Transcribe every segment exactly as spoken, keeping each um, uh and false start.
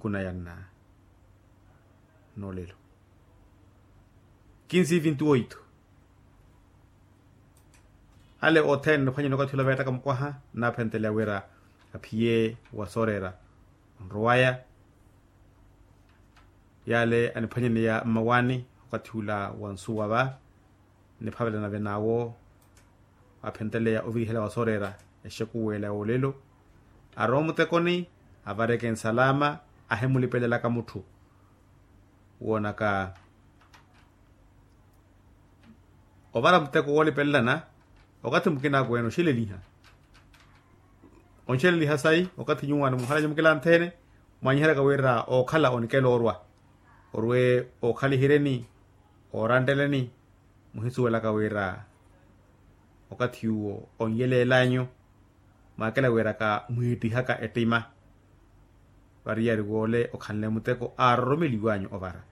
Kuna yanna noolelo kinsi vinti oito. Ale othene niphwanyeni okathi ula veettaka mukwaha naaphenteleya wira aphiye wa sooreera onrowaya. Yale aniphwanyeneya mmawaani okathi ula wa nsuwa va niphavelana venaawo. Aphenteleya ovirihela wa sooreera exekuwela yoolelo arowa omutekoni avareke nsalaama ahemulipelelaka mutthu. Woonaka ovara muteko woolipelelana okathi mukina akweene oxeleliha onxeleliha sayi okathi nyuwaano munhalanyu mukila nthene mwanyiheryaka wira ookhala onikela orwa orwe ookhaliheryeni ooranteleni. Muhisuwelaka wira okathi uwo onyelelanyu mwaakela wiraka mwiittihaka ettima. Variyari woole okhanle muteko aaroromeliwanyu ovara.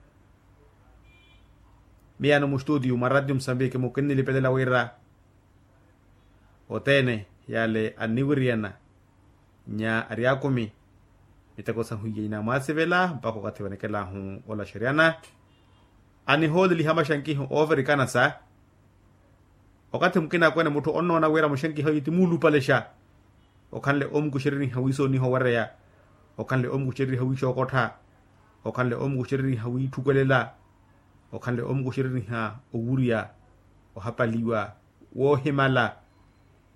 Miyano mustutiyu mwa ratio musambiki mukinnilipelela wira othene yale anniwiriyana nya ari akumi miteko sahu iya inamwasivela mpakha okathi vanikelahu olaxeryana anihooleliha maxankiho oovirikana sa okathi mukina akweene mutthu onnoona wira muxankiho yi ti muulupalexa. Okhanle omukuxereriha wiisooniha owereya okhanle omukuxereriha wiixookottha okhanle omukuxereriha wiitthukwelela okhanle omukuxereriha owurya ohapaliwa woohimala.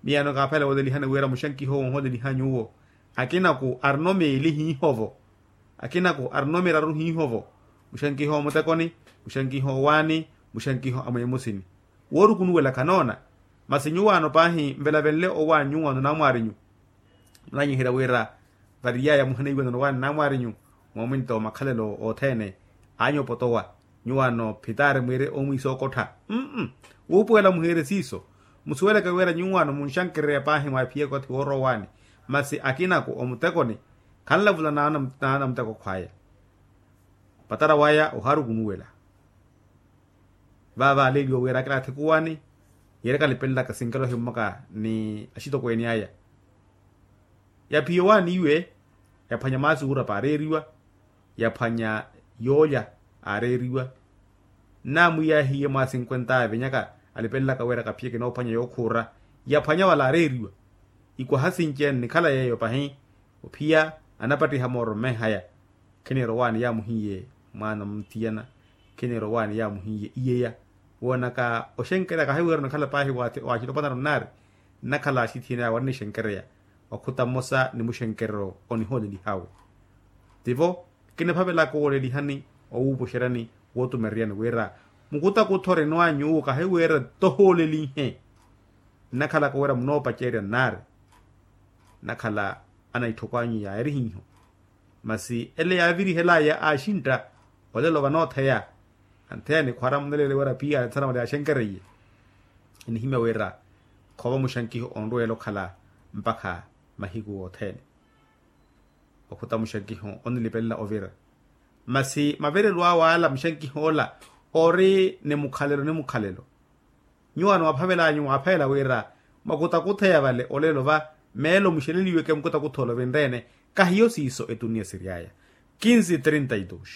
Miyano kaaphela woodelihani wira muxankiho wonhodelihani nyuwo akinaku arino meeli hiihovo akinaku arino miraru hiihovo muxankiho omutekoni muxankiho owaani muxankiho amweemusini. Woorukunuwela khanoona masi nyuwaano paahi nvelavenle owaani nyuwaano naamwaarinyu munanyiherya wira variyaya muhinaiwano nowaani naamwaarinyu moomwinto makhalelo othene. Anyu opotowa nyuwaano phitaari mwiire omwiisa okottha. Wuupuwela muhiire siiso musuweleke wira nyuwaano munxankereya paahi mwaaphiye okathi woorowa owaani masi akinaku omutekoni khanlavula naana muteko khwaya. Patara waya ohaarukunuwela vaava aleeliwa wira akilaathi kuwaani yeereka alipelelaka sinkelo himmaka ni axitokweeni aya. Yaphiye owaani iwe yaphwanya maasi wuurapa aareeriwa yaphwanya yoolya aareeriwa. Nnaamwiyahiye mwa sinkwenta avenyaka alipelelaka wira kaphiyeke noophwanya yookhuura yaphwanya wala aareeriwa. Ikwaha sinci-ene nikhala yeeyo pahi ophiya anapattiha mooro mmenhaya. Khiniira owaani yaamuhiye mwaana muthiyana khiniira owaani yaamuhiye iyeya. Woonaka oxenkereya kahiwira onikhala paahi waaxitopanaru nnaari nnakhala axithiyanaya warinixenkereya okhuta mmosa ni muxenkerero onihoolelihawe. Tivo kiniphavelaka owoolelihani owuupuxeryani wootumereriyani wira mukutakutha orinwa nyuwo kahiwira tohoolelihe. Nnakhalaka wira munoopacerya nnaari nnakhala anaitthokw'anyu yaarihiho. Masi ele yaavirihelaya aaxintta olelo vanootheya antheya nikhwara muneleele wira piya nsana mali yaaxenkereiye. Enihimya wira khova muxankiho onrweela okhala mpakha mahiku othene. Okhuta muxankiho onilipelela ovira masi maverelo awe ala muxankiho ola ori ni mukhalelo ni mukhalelo. Nyuwaano mwaphavel'anyu mwaaphavela wira mwakutakutha ya vale olelo va meelo muxeleliweke mukutakutha olovinre-ene. Kahiyo siiso etuniya siry'aya kinsi trinta y dos.